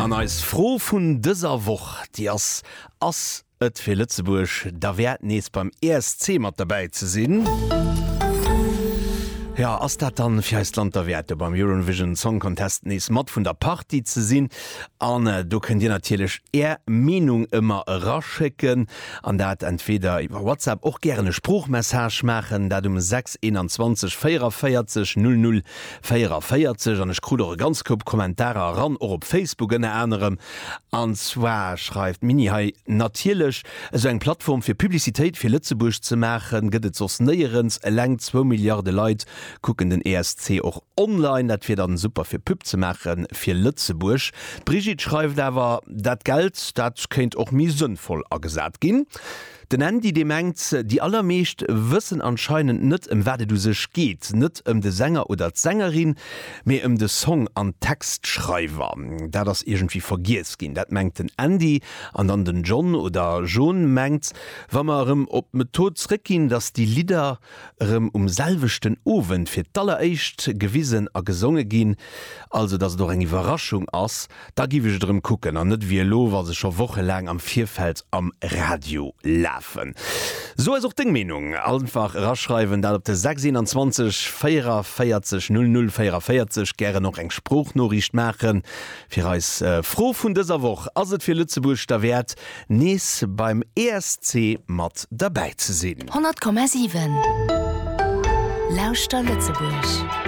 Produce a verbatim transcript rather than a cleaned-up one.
An eis Fro vun dëser Woch, déi ass, Ass et fir Lëtzebuerg derwäert nees beim E S C mat derbäi ze sinn? Ja, ass dat dann fir eist Land derwäert, beim Eurovision Song Contest nees mat vun der Partie ze sinn? An äh, do kënnt dir natierlech är Meenung ëmmer eraschécken an dat entweder iwwer WhatsApp, och gären e Sproochmessage maachen, dat um sechs einundzwanzeg véierundvéierzeg null null véierundvéierzeg. An ech krut och e ganz Koup Kommentarer eran, och op Facebook ënner anerem, an zwar schreift Mini hei: Natierlech, esou eng Plattform fir Publicitéit fir Lëtzebuerg ze maachen gëtt et soss néierens. Eleng zwou Milliarde Leit kucken den E S C och online, dat wier dann super fir Pub ze maachen fir Lëtzebuerg. Brigitte schreift awer, dat Geld, dat kéint och méi sënnvoll agesat ginn. Den Andy, dee mengt, déi allermeescht wëssen anscheinend net, ëm wat et u sech geet, net ëm de Sänger oder d'Sängerin, mee ëm de Song an Textschreiwer. Dat ass iergendwéi vergiess ginn, dat mengt den Andy. An dann den John oder John mengt, wa mer erëm op d'Method zréckginn, dass déi Lidder erëm um selwechten Owend fir d'alleréischt gewisen a gesonge ginn, also dass et och eng Iwwerraschung ass, da giff ech et erëm kucken an net wéi elo, wa se scho wochelaang am Virfeld am Radio lafen. So ass och deng Meenung, einfach eraschreiwen, dat op de sechs einundzwanzeg véierundvéierzeg null null véierundvéierzeg. Gären och eng Sproochnoriicht maachen fir eis Fro vun dëser Woch: Ass et fir Lëtzebuerg derwäert, nees beim E S C mat derbäi ze sinn? honnert Komma siwen. Lauschter Lëtzebuerg.